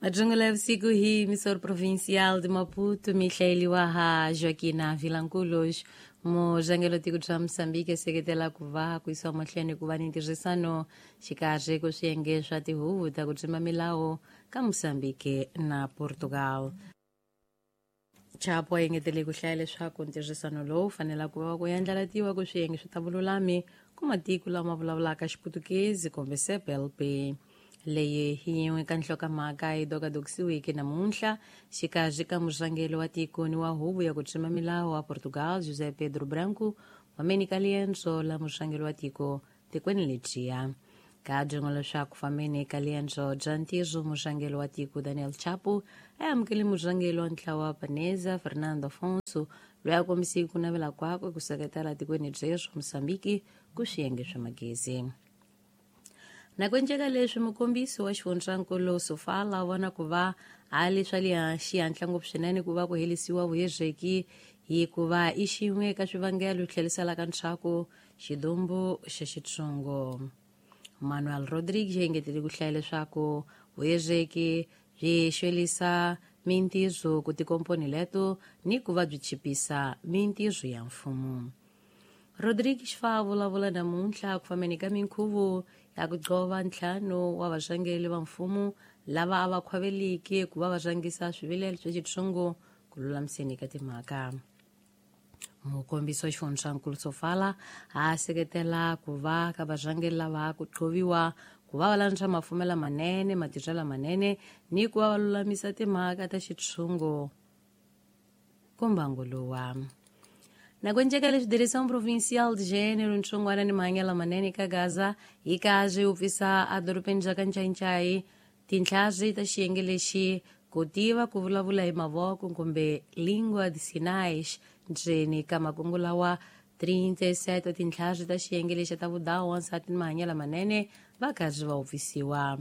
Majungu ya usiku hii, missor provincial de Maputo, Michael Waha, Joaquina Vilanculos, mujangelo tiko bya Moçambique seketela ku va ku yisiwa mahlweni ku va ni ntirhisano xikarhi ku swiyenge swa tihuvo ta ku dzima milawu ka Moçambique na Portugal. Chapo a engetele ku hlaya leswaku ntirhisano lowu fanela ku va ku yandlalatiwa ku swiyenge swi ta vululami ku matiko lama vulavulaka Xiputukezi kumbe CPLP. Leyi hi yin'we ka nhlokomhaka yi dokadokisiweke namuntlha xikarhi ka murhangeri wa tiko ni wa huvo ya ku tsima milawu wa Portugal, José Pedro Branco, fameni ka liendzo la murhangeri wa tiko tikweni ledyiya. Ka byin'we leswaku fameni ka liendzo bya ntirho, murhangeri wa tiko Daniel Chapo a amukele murhangeri wa ntlawa wa Paneza Fernando Afonso, loyi a kombiseke ku navela kwakwe ku seketela tikweni byerhu Moçambique ku swiyenge swa magezi. Na ku enceka leswi, mukombisi wa xifundzankulu Sofala u vona ku va a li swa le xihatla ngopfu swinene ku va ku herisiwa vuhezeki hikuva i xin'we ka swivangelo tlheriselaka ndzhaku xidumbu xa xitsongo. Manuel Rodrigues engetele ku hlaya leswaku vuhezeki byi xwelisa mintirho ku tikomponi leto ni ku va byi chipisa mintirho ya mfumo. Rodrigues fa vulavula namuntlha ku fambeni ka minkhuvo ya ku gqova ntlhanu wa varhangeri va mfumo lava a va khwaveliki ku va va rhangisa swivilelo swa xitsongo ku lulamiseni ka timhaka. Mukombisi wa xifundzankulu Sofala a seketela ku va ka varhangeri lava ku qhoviwa ku va va landza mafumelo lamanene, matirhelo lamanene ni ku va va lulamisa timhaka ta xitshungu ku mbangu luwa. Na ku enceka leswi, Direção Provincial de Gênero, Ntsongwana ni Mahanyelo Lamanene ka Gaza yi kaze yi pfisa edorobeni ra ka Ncayincai tinhlazi ta xiyenge lexi ku tiva ku vulavula hi mavoko kumbe lingua de sinais. Ndzeni ka makungu lawa, 37 wa tinhlazi ta xiyenge lexi ta vudawu, wansati ni mahanyelo lamanene va karhi va upfisiwa.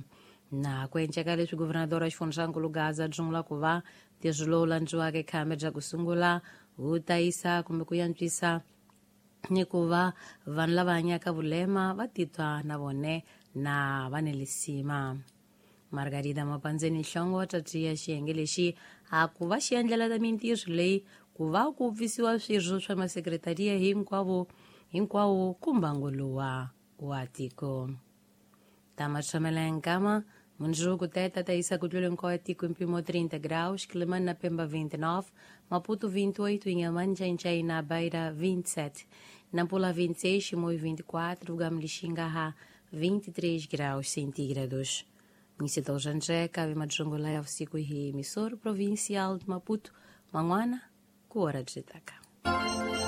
Na ku enceka leswi, guvernador wa xifundzankulu Gaza dzungula ku va ntirho lowu landziwaka ekhambe bya ku sungula wu tayisa kumbe ku yantswisa ni ku va vanhu lava hanyaka vulema va titwa na vone na va ni lisima. Margarida Mapandzeni Nhlongo wa tatiya xiyenge lexi a ku va xi endlela ta mintirho leyi ku va ku pfisiwa swirho swa masekretariya hinkwavo hinkwawo ku mbangu luwa wa tiko. Ta matshamela ya nkama mundzuku teta ta yisa ku tlula hinkwawo ya tiko mpimo 30 graus, Quelimane na Pemba 29, Maputo 28, Inhambane, Ncaincaí na Beira 27, Nampula 26, Chimoio 24, Gamo Lixinga 23 graus centígrados. Missito Jandré, cabe Madjungula ya usiku hii, emissor provincial de Maputo, Manguana, ku hora de Jitaca.